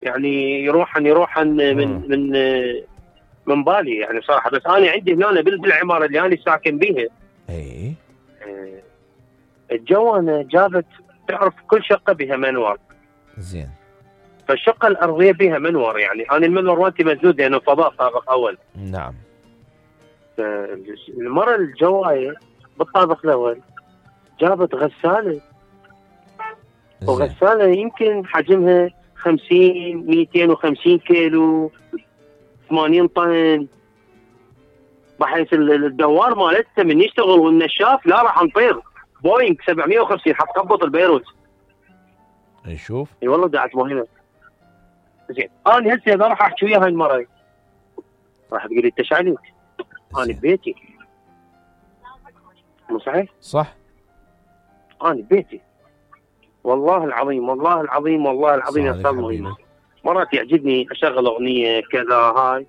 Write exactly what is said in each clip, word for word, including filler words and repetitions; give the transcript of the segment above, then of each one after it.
يعني يروحن يروحن من من من بالي يعني صراحه. بس انا عندي هنا بالعماره اللي انا ساكن بيها اي آه، الجوانه جابت، تعرف كل شقه بها منور. زين. فالشقه الارضيه بها منور، يعني انا المنور مالتي مسدود لانه فضاء طابق اول. نعم. المره الجوايه بالطابق الاول جابت غساله، وغساله يمكن حجمها خمسين مئتين وخمسين كيلو، ثمانين طن، بحيث الدوار مالتها من يشتغل والنشاف لا راح نطير. بوينغ سبعمئة وخمسين حتقبض البيروت. نشوف. اي والله دعت مهمه. زين انا هسه اذا راح احكي ويا هاي المره راح تقول لي انت شعليك؟ انا ببيتي. مو صحيح؟ صح. انا ببيتي والله العظيم والله العظيم والله العظيم يا استاذ مهمه. مرات يعجبني اشغل اغنيه كذا هاي،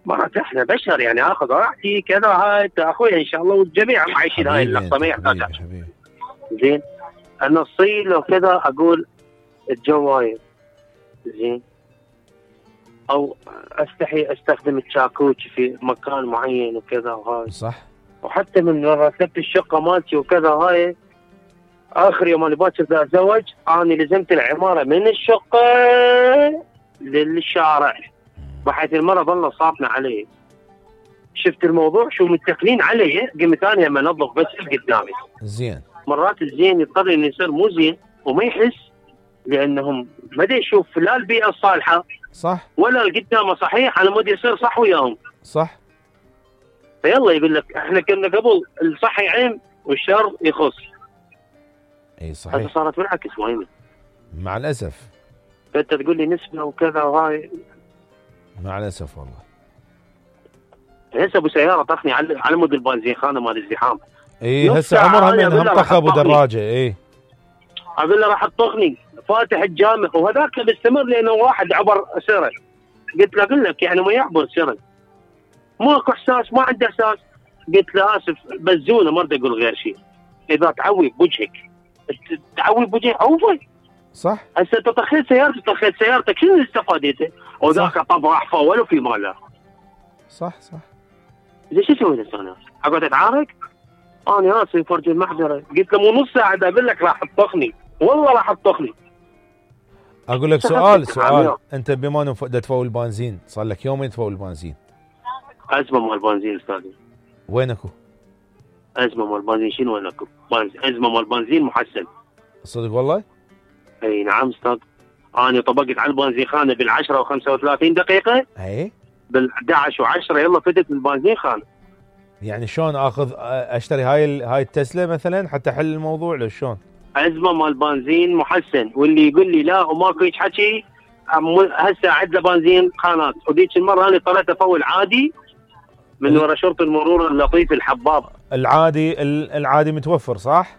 مرات احنا بشر يعني اخذ راحتي كذا هاي اخويا ان شاء الله والجميع عايشين هاي اللحظه ما يحتاج. زين انا اصيل وكذا اقول الجوايه زين، او استحي استخدم الشاكوش في مكان معين وكذا وهاي. صح. وحتى من رتبت الشقه مالتي وكذا هاي، اخر يوم انا باكر ذا اتزوج انا لزمت العماره من الشقه للشارع، بحيث المره ظل صافنه علي. شفت الموضوع شو متكلين علي، قمت انا لما انظف بس قدامي. زين. مرات الزين يضطر انه يصير مو زين وما يحس، لانهم ما دا يشوف لا البيئه الصالحه صح ولا القدامه صحيح على مود يصير صح وياهم. صح. فيلا يقول لك احنا كنا قبل الصح يعم والشر يخص. اي صحيح. هذا صارت بالعكس مهمه مع الاسف. فانت تقول لي نسبه وكذا وهاي، مع الاسف والله. هسه ابو سياره طخني على على مود البنزين خانه مال الزحام. اي هسه عمرها من هم طخ ابو دراجه. اي اقول له راح تطخني فاتح الجامع وهذاك مستمر لانه واحد عبر سره. قلت له اقول لك يعني ما يعبر سره ماكو احساس، ما عنده احساس. قلت له اسف بزونه ما اريد اقول غير شيء. اذا تعوي بوجهك تعوي بوجهك اوفى. صح. هسه انت طخيت سيارتك طخيت سيارتك شنو اللي استفادته؟ وذاك طب راح فول وفي ماله. صح صح. زين شو اسوي هسه انا؟ اقعد اتعارك؟ انا اسف فرج المحضره. قلت له مو نص ساعه اقول لك راح تطخني، والله راح تطخني. اقول لك سؤال سؤال انت بما انه تفول البنزين صار لك يومين تفول البنزين. ازمه مال البنزين استاذي. وين اكو؟ ازمه مال البنزين شنو وين اكو؟ ازمه مال البنزين محسن. صدق والله؟ اي نعم استاذ. انا طبقت على البنزين خانه بالعشرة وخمسة وثلاثين دقيقه. اي بالأحد عشر وعشرة يلا فتت البنزين خانه. يعني شلون اخذ اشتري هاي هاي التسلا مثلا حتى احل الموضوع لو شلون؟ ازمه مال بنزين محسن، واللي يقول لي لا وماكو هيك حكي هسه عد له بنزين خانات. وذيك المره انا اضطريت افول عادي من وراء شرطه المرور اللطيف الحباب. العادي العادي متوفر صح؟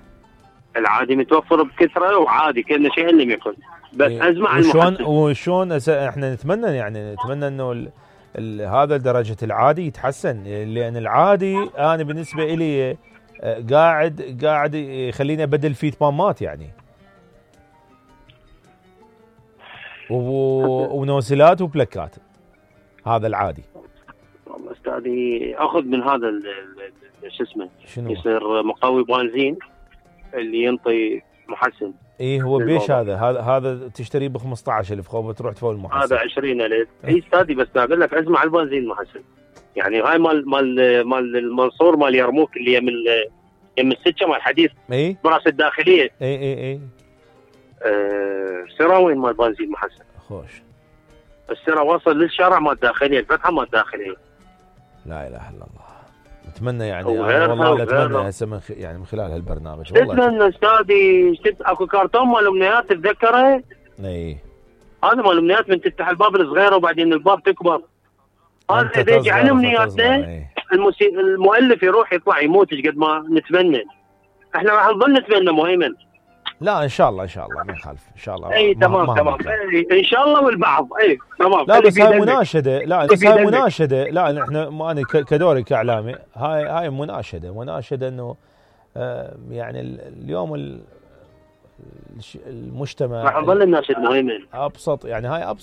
العادي متوفر بكثره وعادي كأنه شيء لم يكن، بس إيه. ازمه على المحسن. وشلون احنا نتمنى يعني نتمنى انه ال ال هذا درجه العادي يتحسن، لان العادي انا بالنسبه لي قاعد قاعد يخليني ابدل فيه تمامات يعني ونوزلات وبلاكات. هذا العادي. والله استاذي اخذ من هذا شو اسمه يصير مقوي بنزين اللي ينطي محسن. ايه هو بيش هذا هذا هذا تشتريه ب خمسطعش ألف خوبه تروح تفول محسن. هذا عشرين ألف. اي استاذي بس اقول لك ازمه على البنزين محسن. يعني هاي مال مال مال المنصور مال يرموك اللي يم يم السكه مال الحديث. اي براس الداخليه. اي اي اي أه سراوين مال بنزين محسن. خوش. السرا وصل للشارع مال الداخليه، الفتحه مال الداخليه. لا اله الا الله. نتمنى يعني والله اتمنى هسه من خ... يعني من خلال هالبرنامج والله اتمنى استاذي. شفت اكو كرتون مال امنيات تتذكره؟ اي هذا مال امنيات من تفتح الباب الصغيره وبعدين الباب تكبر. هذا اذا يجي على امنياتنا المسي... المؤلف يروح يطلع يموت قد ما نتمنى. احنا راح نظل نتمنى مهيمن. لا ان شاء الله ان شاء الله ما يخالف ان شاء الله. اي تمام تمام اي ان شاء الله والبعض اي تمام. لا بس هاي مناشده. لا بس هاي مناشده. لا احنا ما انا كدوري كاعلامي هاي هاي مناشده مناشده انه آه يعني اليوم المجتمع راح نظل الناشد مهيمن. ابسط يعني هاي ابسط